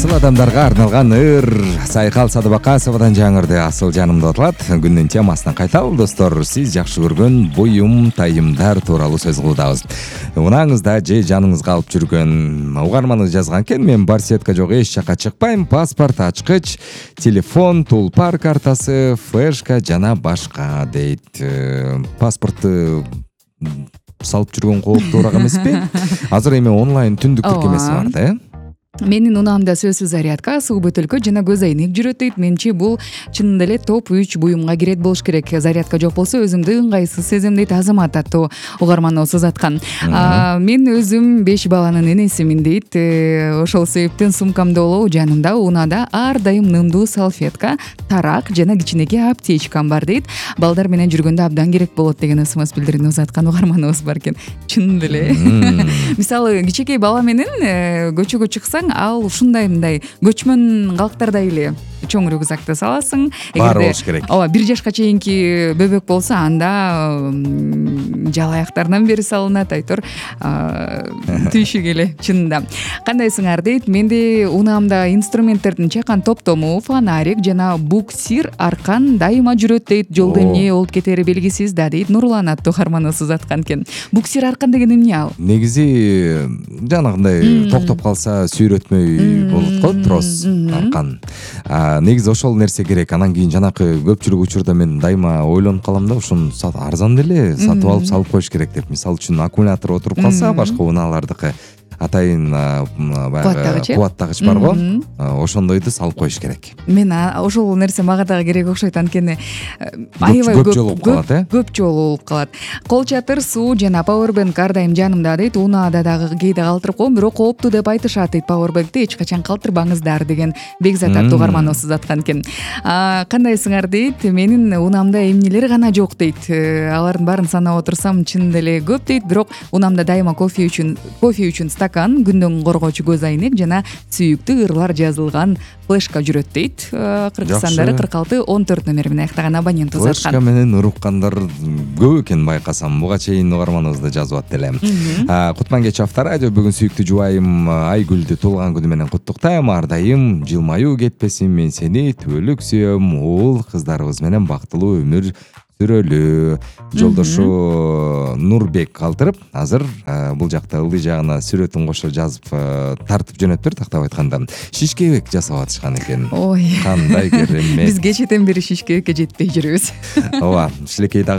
Асыл адамдарга арналган ыр Сайкал Садыбакасовадан жаңырды. Асыл жанымда отулат. Күндүн темасына кайталы достор. Сиз жакшы көргөн буюм тайымдар тууралуу сөз кылдабыз. Унаңызда же жаныңызга алып жүргөн угарманыңыз жазган экен. Мен бар сетка жок, эч жака чыкпайм. Паспорт, ачкыч, телефон, тулпар картасы, флешка жана башка дейт. Паспортты салып жүргөн кооптуураак эмеспи? Азыр эми онлайн түндүк тиркемеси бар да, Менин унаамда сөзсүз зарядка, суу бөтөлкө жана көз айнек жүрөт дейт. Менчи бул чынында эле топ 3 буюмга кирет болуш керек. Зарядка жок болсо өзүмдү ыңгайсыз сезем дейт Азамат аттуу угарманыбыз узаткан. Мен өзүм 5 баланын энесимин дейт. Ошол себептен сумкамда болобу жанымда унаада ар дайым нымдуу салфетка, тарак жана кичинекей аптечкам бар дейт. Балдар менен жүргөндө абдан керек болот деген СМС билдирүүнү узаткан угарманыбыз бар экен. Чынында эле. Мисалы кичинекей бала менен көчөгө чыксаң, ал ушундай мындай көчмөн калктардай эле чоң рюкзакты саласың. Баары болуш керек. Ооба, 1 жашка чейинки бөбөк болсо анда жалаяктарынан бери салынат, айтор түйшүк эле чынында. Кандайсыңар дейт. Менде унаамда инструменттердин чакан топтому, фонарик жана буксир аркан дайыма жүрөт дейт. Жолдо эмне болуп кетери белгисиз да дейт. Нурлан аттуу угарманыбыз узаткан экен. Буксир аркан деген эмне ал? Негизи жанагындай токтоп калса сүйрөтмөй болот го, трос аркан. Негизи ошол нерсе керек. Анан кийин жанакы көпчүлүк учурда мен дайыма ойлонуп калам да, ушуну арзан деле сатып алып салып коюш керек деп. Мисалы үчүн аккумулятор отуруп калса, башка унаалардыкы атайын кубаттагыч бар го, ошондойду салып коюш керек. Мен ошол нерсе мага дагы керек окшойт, анткени аябай көп жолу болуп калат, көп жолу болуп калат. Кол чатыр, суу жана пауэрбэнк ар дайым жанымда дейт. Унаада дагы кээде калтырып коем, бирок кооптуу деп айтышат дейт. Пауэрбэнкти эч качан калтырбаңыздар деген Бекзат аттуу угарманыбыз узаткан экен. Кандайсыңар дейт. Менин унаамда эмнелер гана жок дейт. Алардын баарын санап отурсам чынында эле көп дейт, бирок унаамда дайыма кофе үчүн стакан, күндөн коргоочу көз айнек жана сүйүктүү ырлар жазылган флешка жүрөт дейт. Кыргызстандары 46-14 номер менен аяктаган абонент узаткан. Флешка менен уруккандар көп экен байкасам. Буга чейин угарманыбызда жазып ат элем. Кутман кеч авторадио бүгүн сүйүктүү жубайым Айгүлдү туулган күнү менен куттуктайм. Ар дайым жылмаюу кетпесин, мен сени түбөлүк сүйөм. Уул кыздарыбыз менен бактылуу өмүр сүрөлү. Жолдошу Нурбек калтырып, азыр бул жакта ылдый жагына сүрөтүн кошо жазып тартып жөнөттүр, тактап айтканда. Шишкебек жасап атышкан экен. Ой. Кандай керемет. Биз кечеден бери шишкебекке жетпей жүрүбүз. Ооба, шилекей